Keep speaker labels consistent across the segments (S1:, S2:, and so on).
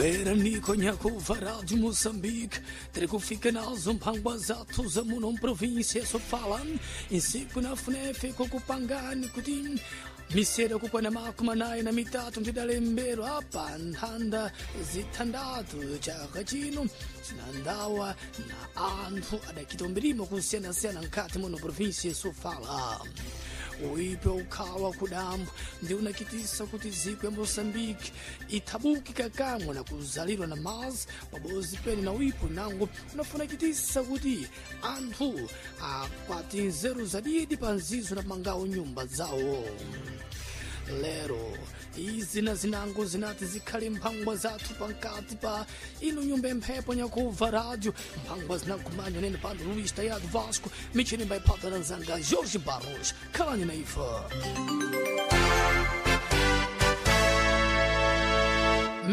S1: Beraniko nyakuva Rádio Moçambique, terikufika nazo mphangwa zathu za muno mprovíncia sofala insiku na FUNEF kukupangani kuti misero kukwana makumi anayi na mitatu ndidalembero apa nthanda zithandatu chaka chino zinandawa na anthu adakita umbirimo kusiyanasiyana mkhati muno província sofala. Uipe ukhawa kudambo ndi unakitisa kuti ziko ya Moçambique ithabuki kakamwe na kuzalidwa na mazi pabozi pene na uipo nango unafunakitisa kuti anthu akwati nzeru zadidi pa nzizo na mangawo nyumba zawo. Lero izi na zinango zinati zikhale mphangwa zathu pankati pa ino nyumba emphepo nyakuva rádio mphangwa zinakumanya nene pano Luís Tayado Vasco michini mbaipata na nzanga Jorge Barros khalani na ife.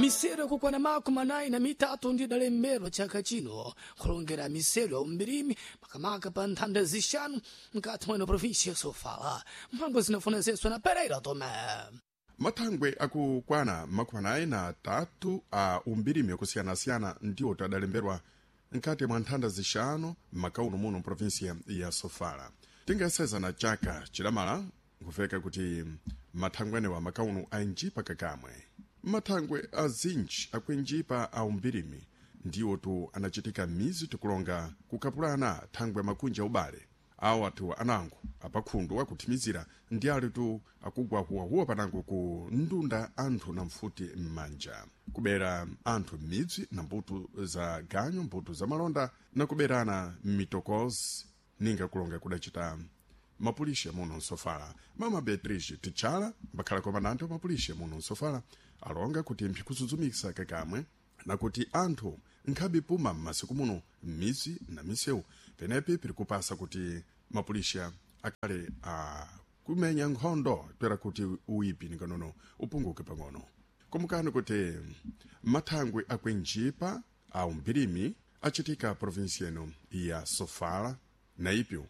S1: Misero yakukwana 43 ndidalembedwa chaka chino kulongera misero ya umbirimi makamaka pa nthanda zixanu mkati mweno província Sofala. Mphangwa zinafunezeswa na Pereira Tomé.
S2: Mathangwe akukwana 43 a umbirimi yakusiyanasiyana ndiwo tadalemberwa mkati mwa nthanda zixanu m'makauno muno mprovinsia ya Sofala. Tingaseza na chaka chilamala nkufeka kuti mathangwe anewa makauno ainjipa kakamwe. Mathangwe azinji akuinjipa a umbirimi ndiwo tu anachitika mizi tikulonga kukapulana thangwe makunja ubale awo athu anango apakhundu akuthimizira ndi ali tu akugwa huwahuwa panango ku ndunda anthu na mfuti m'manja kubera anthu m'midzi na mbuto za ganyu mbuto za malonda na kuberana m'mitokozi ninga kulonga kudacita mapulishe muno msofala. Mama Beatrice Tichala mbakhala komandante wa mapulishe muno msofala alonga kuti mphikuzudzumisa kakamwe nakuti anthu nkhabe puma m'masiku muno m'mizi na misewu penepi piri kupasa kuti mapulisha akhale a kumenya nkhondo toera kuti uipi ninganono upunguke pang'ono. Kumukani kuti mathangwe akuinjipa a umbirimi achitika provinsi ino ya Sofala na ipyo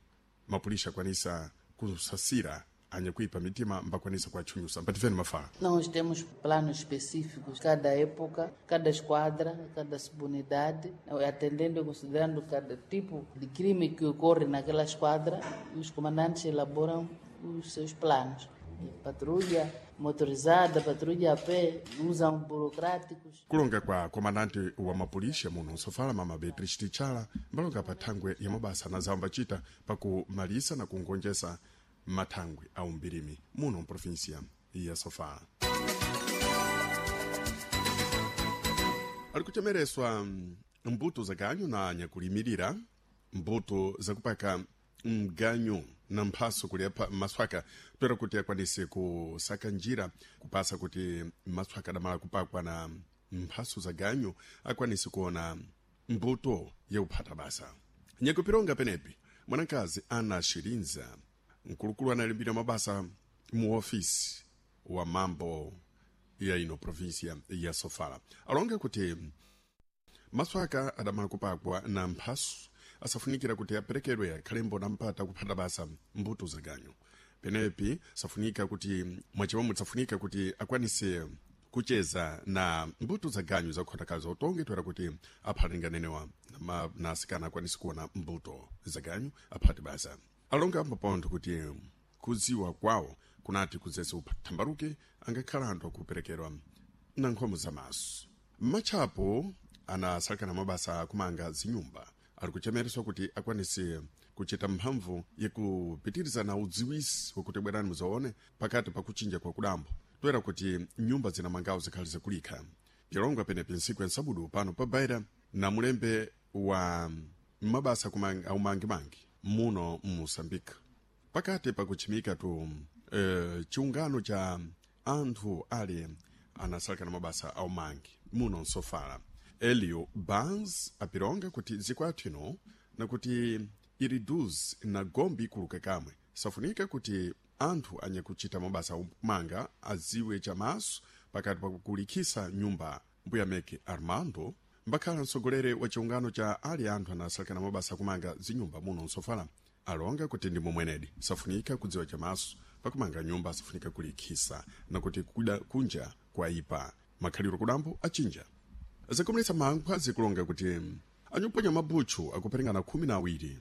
S2: mapulisha akwanisa kusasira anyakuipa mitima mbakwanisa kuatchunyusa mpatifeni mafala.
S3: Nós temos planos específicos, cada época, cada esquadra, cada subunidade, atendendo e considerando cada tipo de crime que ocorre naquela esquadra, os comandantes elaboram os seus planos. Patrulha motorizada, patrulha a pé, usam burocráticos.
S2: Kulonga kwa komandante wa mapulisha muno Sofala mama Beatrice Tichala mbalonga pa thangwe ya mabasa na zawo mbacita pakumalisa na kungonjesa mathangwe a umbirimi muno mprovinsia ya Sofala. Ali kuchemereswa mbuto za ganyu na nyakulimirira mbuto zakupaka mganyu na mphaso kuli maswaka toera kuti akwanise kusaka njira kupasa kuti maswaka adamala kupakwa na mphaso za ganyu akwanise kuona mbuto yakuphata basa. Nyakupironga penepi mwanakazi Ana Shirinza mkulukulu analimbira mabasa mu ofisi wa mambo ya ino provinsia ya Sofala alonga kuti maswaka adamala kupakwa na mphaso asafunikira kuti aperekedwe akhalembo na mpata kuphata basa mbuto za ganyu penepi safunika kuti mwachimomwe safunika kuti akwanise kucheza na mbuto za ganyu zakukhotakaza utonge toera kuti aphalinganenewa na asikana akwanise kuona mbuto za ganyu aphate basa. Alonga ambapontho kuti kudziwa kwawo kunati kuzese uphambaruke angakhala anthu akuperekedwa na nkhomo za maso. Matchapo anasalekana mabasa akumanga zinyumba ali kuchemereswa kuti akwanise kuchita mphamvu yakupitiriza na udziwisi wakuti bwerani muzaone pakati pa kuchinja kwa kudambo toera kuti nyumba zinamangawo zikhali zakulikha. Pilongwa penepi ntsiku ya nsabudu pano pa Baira na mulembe wa mabasa aumangimangi muno mMoçambique pakati pakuchimika tu chiungano cha anthu ali anasalekana mabasa aumangi muno msofala. Elio Barnes apironga kuti zikwathu ino nakuti iriduz na gombi ikuluka kamwe safunika kuti anthu anyakuchita mabasa aumanga aziwe chamaso pakati pakulikhisa nyumba. Mbuya meke Armando mbakhala mtsogoleri wa chiungano cha ali anthu anasalekana mabasa akumanga zinyumba muno msofala alonga kuti ndi momwenedi safunika kudziwa chamaso pakumanga nyumba safunika kulikhisa nakuti kuda kunja kwaipa makhaliro kudambo achinja. Zakomeletsa mankhwa zikulonga kuti anyuponya mabutchu akuperingana 12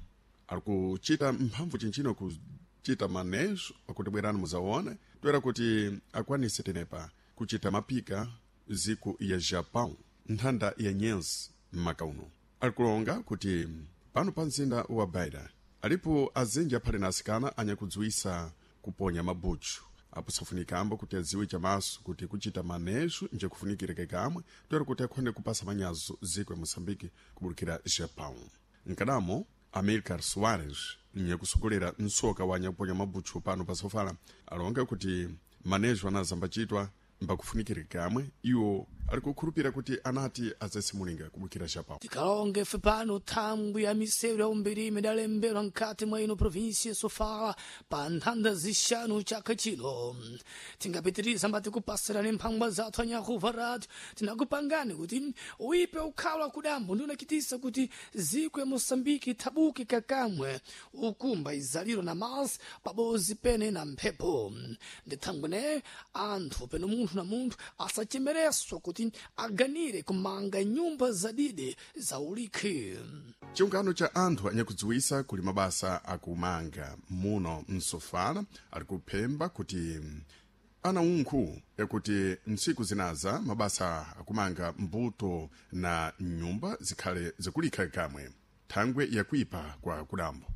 S2: ali kuchita mphamvu chinchino kuchita manejo akuti bwerani muzaone toera kuti akwanise tenepa kuchita mapika ziku ya Japão nthanda ya nyenzi mmaka uno. Alikulonga kuti pano pa mzinda wa Beira alipo azinji aphale na asikana anyakudziwisa kuponya mabutchu apo safunikambo kuti adziwe chamaso kuti kuchita manejo nje kufunikireke kamwe toera kuti akhonde kupasa manyazo ziko ya Moçambique kubulukira Japão. Nkadamo Amilcar Soares nyakusogolera msoka wa nyakuponya mabutchu pano pa Sofala alonga kuti manejo anazambachitwa mbakufunikireke kamwe iwo ali kukhulupira kuti anati azasimulinga kubukira Japão.
S1: Tikalonge ife pano thangwi ya misewu ya umbirimi idalembedwa mkati mwa ino provinsi ya Sofala pa nthanda zixanu chaka chino. Tingapitiriza mbati kupasirani mphangwa zathu anyakuva radio tinakupangani kuti uipe ukhala kudambo ndi unachitisa kuti ziko ya Moçambique ithabuke kakamwe ukumba izaliro na masi pabozi pene na mphepo. Ndi thangwi ne anthu peno munthu na munthu asachemereswa kuti aganire kumanga nyumba zadide za ulikhi.
S2: Chiungano cha anthu anyakudziwisa kuli mabasa akumanga muno msofala ali kuphemba kuti ana unkhu yakuti ntsiku zinaza mabasa akumanga mbuto na nyumba zikhale zikulikha kamwe thangwe yakuipa kwa kudambo.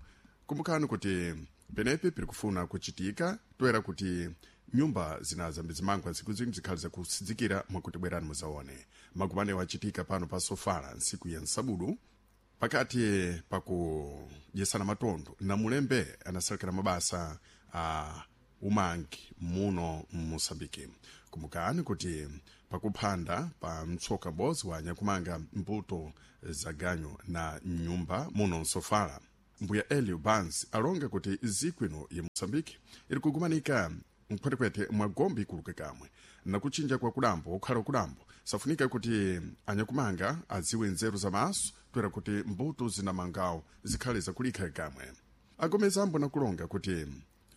S2: Kumbukani kuti penepe piri kufuna kuchitika toera kuti nyumba zinaza mbizimangwa ntsiku zino zikhale zakusidzikira mwakuti bwerani muzaone. Magumanewo achitika pano pa Sofala ntsiku ya nsabudu pakati pakudyesana matondo na mulembe anasalekera mabasa a umangi muno mMosambike. Kumbukani kuti pakuphanda pa mtsoka m'bodzi wa nyakumanga mbuto za ganyu na nyumba muno msofala mbuya Elio Bans alonga kuti ziko ino ya Mosambike iri kugumanika mkhwetekwete mwa gombe ikuluke kamwe na kuchinja kwa kudambo okhala kudambo safunika kuti anyakumanga adziwe nzeru za maso toera kuti mbuto zinamangawo zikhale zakulikha kamwe. Agomezambo nakulonga kuti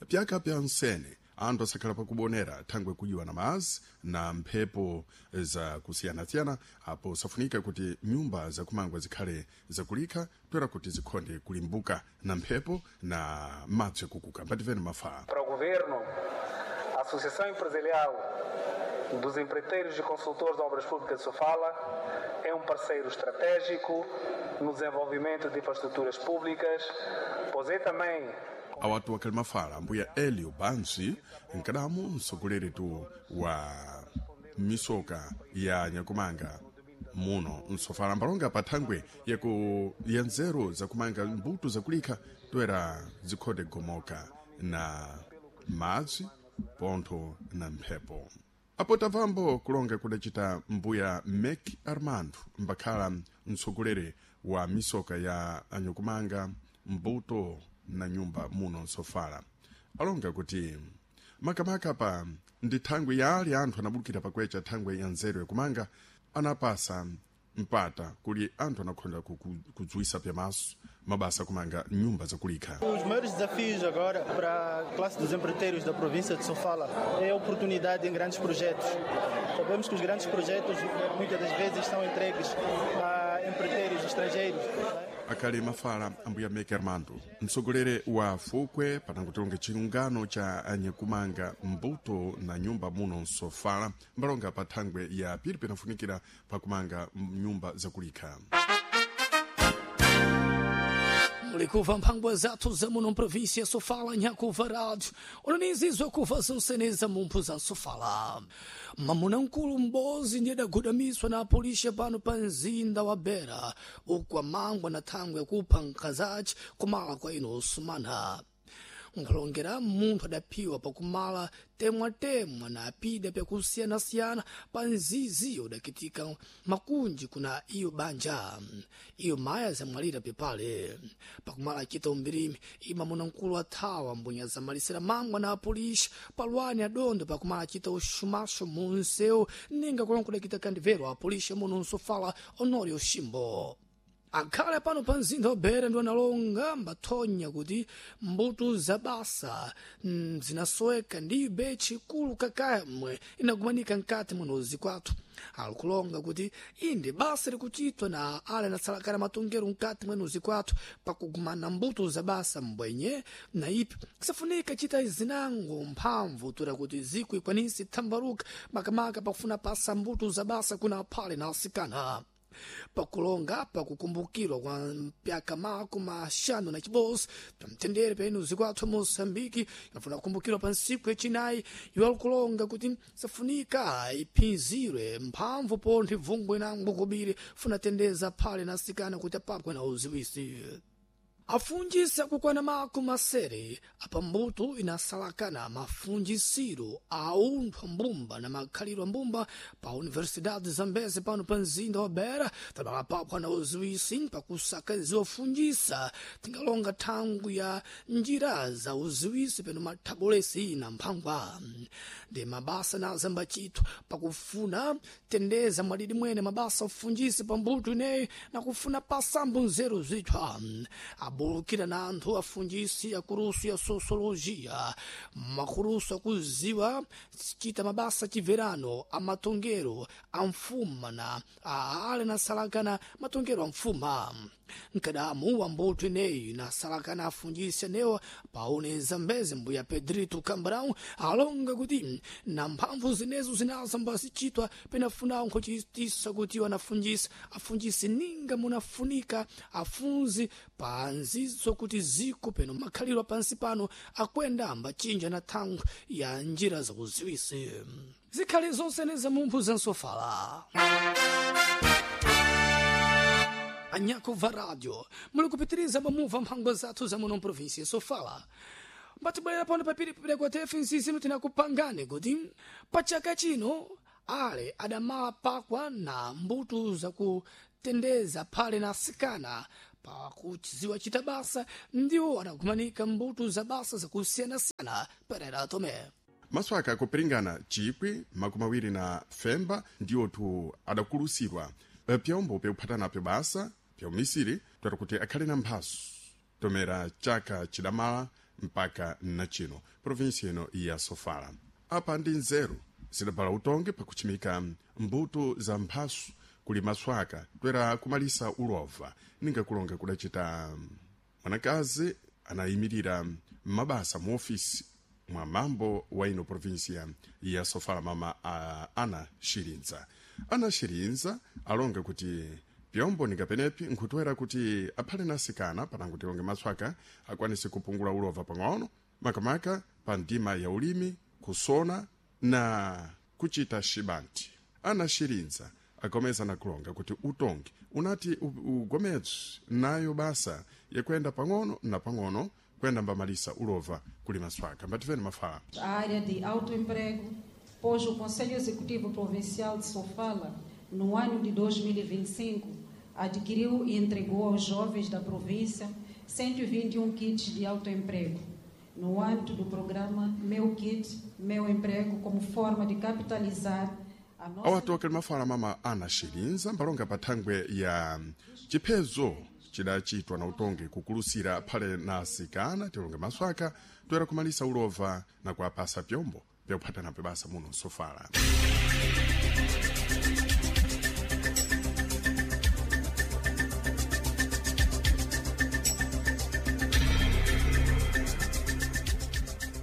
S2: pyaka pya nsene anthu asakhala pakubonera thangwe kujiwa na mazi na mphepo zakusiyanasiyana apo safunika kuti nyumba zakumangwa zikhale zakulikha toera kuti zikhonde kulimbuka na mphepo na madzi akukuka. Mbativeni mafaa.
S4: Para o governo, a Associação Empresarial dos Empreiteiros e Consultores de Obras Públicas de Sofala é um parceiro estratégico no desenvolvimento de infraestruturas públicas, pois é também
S2: awatu wakali mafala ambuya Elio Bansi nkadamu msogoleri wa misoka ya nyakumanga muno msofala mbalonga pa thangwe yaku ya nzeru zakumanga mbuto zakulikha toera zikhonde gomoka na madzi pontho na mphepo. Apo tamvambo kulonga kudacita mbuya Mek Armando mbakhala mtsogoleri wa misoka ya anyakumanga mbuto na nyumba muno msofala alonga kuti makamaka pa ndi thangwi ya ali anthu anabulukira pakwecha thangwi ya nzeru yakumanga anapasa mpata kuli anthu anakhonda kudziwisa pyamaso mabasa kumanga nyumba zakulikha.
S5: Os maiores desafios agora para a classe dos empreiteiros da província de Sofala é a oportunidade em grandes projetos. Sabemos que os grandes projetos muitas das vezes são entregues a empreiteiros estrangeiros.
S2: Akali mafala ambuya Meke Armando mtsogoleri wa fukwe panangotilonga chiungano cha anyakumanga mbuto na nyumba muno msofala mbalonga pa thangwe ya pili pinafunikira pakumanga nyumba zakulikha.
S1: Mulikuva mphangwa zathu za muno mprovinsi ya Sofala nyakuva rádio onanizizwa kuva zinseneza mumphu za Sofala. Mamuna mkulu m'bozi ndiye adagudamiswa na apolisi pano pa mzinda wa Beira uku amangwa na thangwe yakupha nkhazace kumala kwa ino osumana. Nkhulongera munthu adaphiwa pakumala temwatemwa na apida pyakusiyanasiyana pa nziziyo udakitika makunji kuna iyo banja. Iyo maya zamwalira pepale pakumala acita umbirimi ima muna mkulu athawa mbunya zamalisira mangwa na apolisi palwani adondo pakumala acita uxumaxo munsewu ninga kulonga kudakita kandivero apolisi muno nsofala Honório Ximbo. Akhale pano pa mzinda wa Beira ndi analonga mbathonya kuti mbuto za basa zinasoweka ndibe chikulu kakamwe inakumanika mkati munozi kwathu. Alikulonga kuti inde basa likuchitwa na ale anatsalakana matongero mkati mwenuzi kwathu pakugumana mbuto za basa mbwenye na ipi kusafunika chita zinango mphamvu tura kuti ziku ikwanisi thambaruka makamaka pakufuna pasa mbuto za basa kuna phale na asikana. Pakulonga pakukumbukirwa kwa mpyaka 56 pamtendere penu zikwathu Moçambique inafuna kukumbukirwa pa ntsiku yachinayi iwo alikulonga kuti safunika iphinzirwe mphamvu ponthe bvungwe nango kobiri funa tendeza phale na asikana kuti apapwe na uziwisi. Afunjisa kukwana 70 apa mbuto inasalakana mafunjisiro a unthu ambumba na makhaliro ambumba pa Universidade Zambeze pano pa mzinda wa Beira tabala na uziwisi pakusaka ziwofunjisa tingalonga thangu ya njira za uziwisi peno mathabolesi na mphangwa ndi mabasa na zambachitho pakufuna tendeza mwadidi mwene mabasa ofunjisa pa mbuto ineyi na kufuna pasambo nzeru zithwa abulukira na anthu afunjisi akulusu ya sociologia makulusu akuziwa chita mabasa chiverano amatongero a mfuma na ale nasalakana matongero a mfuma mkadamu wa mbuto ineyi nasalakana afunjisi anewa paone Zambeze mbuya Pedrito Cambrão alonga kuti na mphamvu zinezo zinazamba zichitwa penafuna nkhochitisa kuti wanafunjisa afunjisi ninga munafunika afunzi panzizo kuti ziko peno makhaliro pansi pano akwenda ambachinja na thangu ya njira zakuziwisi zikhali zonse nezamumphu zansofala. Anyako va radio muli kupitiriza bamuva mphangwa zathu za muno província Sofala mbatibwerera pano papiri kwa tefe nsisinu tinakupangani kuti pachaka chino ale adamala pakwa na mbuto zakutendeza phale na asikana pakuchiziwa chita basa ndiwo adakumanika mbuto za basa zakusiyanasiyana Pereira Tome.
S2: Maswaka akupiringana 2025 ndiwotu adakulusidwa pyombo pyakuphatanapyo basa pyaumisiri twera kuti akhale na mphaso tomera chaka chidamala mpaka nachino provinsi ino ya Sofala. Apa ndi nzeru zidabala utongi pakuchimika mbuto za mphaso kuli maswaka twera kumalisa ulova ninga kulonga kudacita mwanakazi anayimirira mabasa mu ofisi mwa mambo wa ino provinsia ya Sofala mama Ana Shirinza. Ana Shirinza alonga kuti pyombo ningapenepi nkhutwera kuti aphale nasikana panango tilonge maswaka akwanise kupungula ulova pang'ono makamaka pa ndima ya ulimi kusona na kuchita shibanti. Ana Shirinza agomeza na kulonga kuti utongi unati ugomedzwe nayo basa yakwenda pang'ono na pang'ono kwenda mbamalisa ulova kuli maswaka. Mbativeni mafala.
S6: A área de autoemprego, pois o Conselho Executivo Provincial de Sofala, no ano de 2025, adquiriu e entregou aos jovens da província 121 kits de autoemprego, no âmbito do programa Meu Kit, Meu Emprego, como forma de capitalizar a nossa...
S2: Awatu akali mafala mama Ana Shirinza mbalonga pa thangwe ya chiphezo chidachitwa na utongi kukulusira phale na asikana tilonge maswaka toera kumalisa ulova na kuapasa pyombo pyakuphatanapo basa muno Sofala.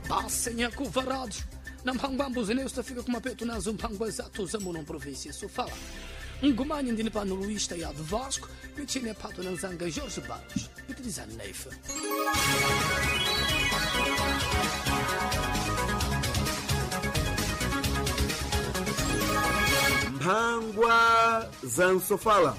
S1: Basa nyakuva rádio na mphangwambo zinezo tafika kumapeto nazo mphangwa zathu za muno província Sofala. Ngumanye ndini pano Luís Taiado Vasco, michini pato na nzanga Jorge Barros, utilizando neifa.
S7: Mphangwa za Sofala.